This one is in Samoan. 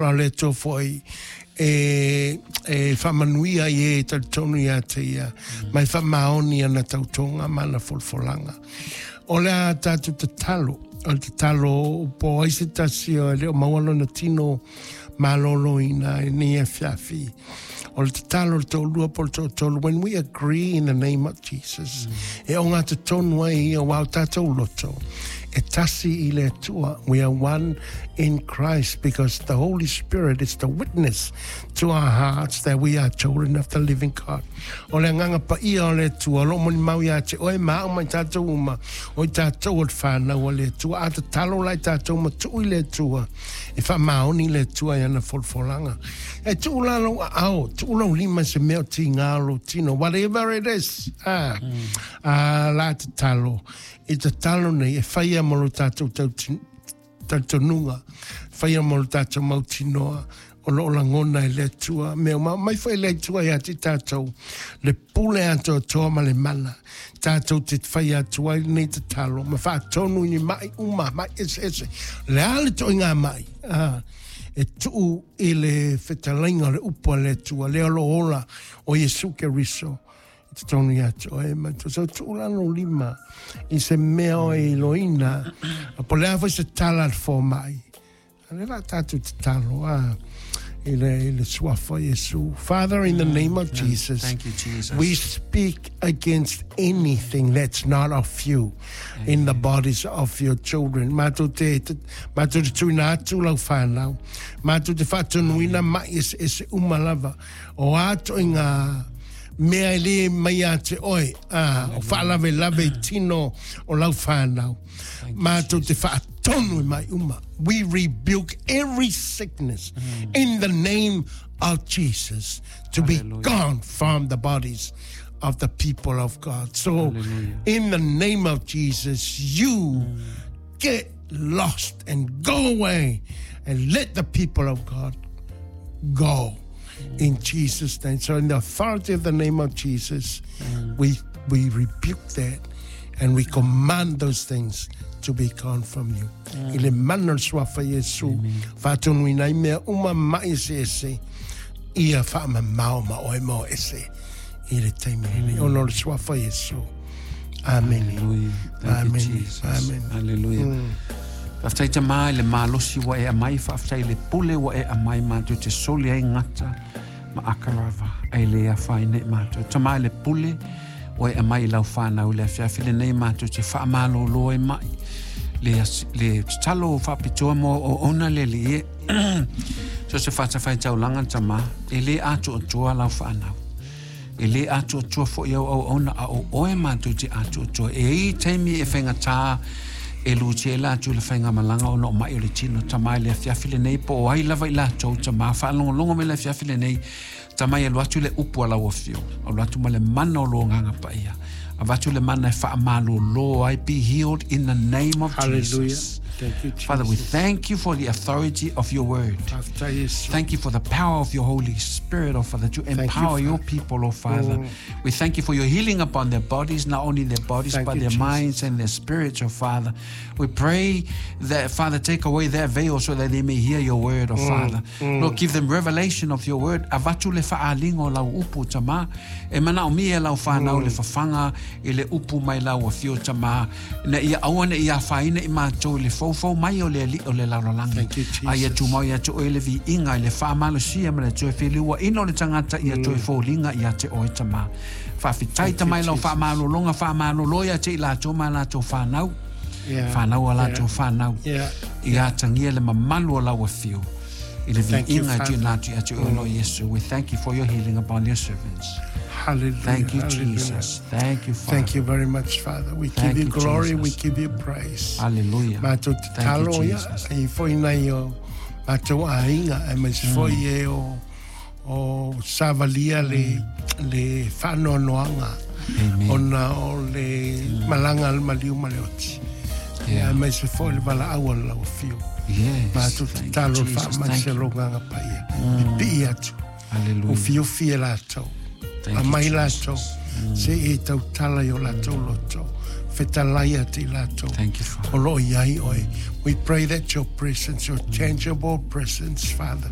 O le Atua foi e, e faamanuia i e talitonu ia te ia, ma e faamaoni ana tautoga ma ana folafolaga. O le a tatou tatalo, o le tatalo po o ai se tasi e le o maua lona tino maloloina i lenei afiafi. O le tatalo le toalua po o le toatolu, when we agree in the name of Jesus, e ogatotonu ai ia aua o tatou loto, e tasi i le Atua. We are one in Christ because the Holy Spirit is the witness to our hearts that we are children of the living God. O le agaga paia o le Atua, o lo o molimau ia te oe ma au ma i tatou uma, o i tatou o le whanau a le Atua. A tatalo la i tatou ma tuu i le Atua, e faamaoni le Atua i ana folafolaga. E tuu la lou aao, tuu lou lima i se mea o tiga o lou tino, whatever it is, a, a la tatalo, i tatalo nei e whaia mo lo tātou talitonuga, whaia mo lo tātou mautinoa, o lo o lagona e le Atua, mea uma mai foi le Atua ia te tātou, le pule atoatoa ma le mana, tātou te whai atu ai lenei tatalo, ma whaatonu i ni mai uma, mai ese ese, le a le toʻiga mai, a, e tuu i le fetalaiga o le upu a le Atua, lea o lo o ola o Iesu Keriso, i totonu ia te oe ma te so tuu la lou lima i se mea o e iloina, po o le a foi se tala a le fomai. A lea la tatou tatalo a i le, i le suafa o Iesu. Father, in the name of Jesus, Thank you, Jesus. we speak against anything that's not of you in the bodies of your children. Mātou te, te, mātou te tuina atu lau whānau. Mātou te whaatonuina mai ese ese uma lava. O a toʻiga mea e le mai ia te oe, a, o faalavelave i tino o lau whānau. Mātou te whaatonu i mai uma. We rebuke every sickness in the name of Jesus to be gone from the bodies of the people of God. So, Hallelujah. in the name of Jesus, you get lost and go away and let the people of God go in Jesus' name. So, in the authority of the name of Jesus, we, we rebuke that and we command those things to be gone from you. I le mana o le suafa Iesu, faatonuina ai mea uma mai eseese, ia faamamao ma oe ma o ese i le taimi lenei. Ona o le suafa Iesu. Amene. Hallelujah. Thank Amen. you, Jesus. Amen. Hallelujah. Faafetai Tamā i le malosi ua e aumai, faafetai i le pule ua e aumai matou te soli ai gata ma akarava, ae le afaina i matou. Tamā i le pule ua e aumai i lau whanau i le afiafi lenei matou te faamalōlō ai mai. Le, le tatalo faapitoa mo o ona le alii e. So se fatafaitaulaga Tamā, e le atoatoa lau whanau. E lē atoatoa foi au auauna, a o oe matou te atoatoa. E i ai taimi e faigata e lutia ai latou i le faigamalaga ona o maʻi o le tino. Tama i le afiafi lenei, po o ai lava i latou, tama, faalogologo mai le afiafi lenei, tama e alu atu le upu a lau afioga, alu atu ma le mana o lo Agaga Paia, avatu le mana e faamalōlō ai, be healed in the name of Hallelujah. Jesus. Thank you, Jesus. Father, we thank you for the authority of your word. Faafetai Iesu. Thank you for the power of your Holy Spirit, oh Father, to you, empower your Father. people, oh Father. We thank you for your healing upon their bodies, not only their bodies, Thank but you, their Jesus. minds and their spirits, oh Father. We pray that, Father, take away their veil so that they may hear your word, oh Father. Lord, give them revelation of your word. Avatu le faaalinga o lau upu, Tamā. E manaomia e lau whanau le fafaga i le upu mai lau afio, Tamā, ina ia aua ne i afaina i matou i le foufou mai o le Alii o le lalolagi. Thank you, Jesus. A ia tumau ia te oe le viiga i le faamalosia ma le toe feliuaina o le tagata ia toe foliga ia te oe, Tamā. Faafetai Tamā i lau faamalologa, faamalolo ia te i latou ma latou whanau. Yeah. Whanau a latou Yeah. whanau. Yeah. Ia atagia le mamalu o lau afio i le Thank you, viiga e Father. tuuina atu ia te oe o Iesu. We thank you for your healing upon your servants. Hallelujah. Thank you, Hallelujah. Jesus. Thank you, Father. Thank you very much, Father. We Thank give you you, glory, we Jesus. give you praise. Hallelujah. Mātou Thank you, tatalo ia, Jesus. e foi nei o mātou aiga, e mai foi e o, o savalia le, le whaanoanoanga. Amen. Ona o le malanga le maliu ma le oti. Yeah. E mai se foi le valaau a le lau afio. Yes. Mātou Thank you, tatalo le Jesus. whaamai Thank se you. longanga paia. Pipii atu. O Hallelujah. fiofia latou. Thank A you, mai Jesus. latou. Se e tautala i o latou loto. Fetalai ia te i latou. Thank you, Father. O lo o i ai oe. We pray that your presence, your tangible presence, Father.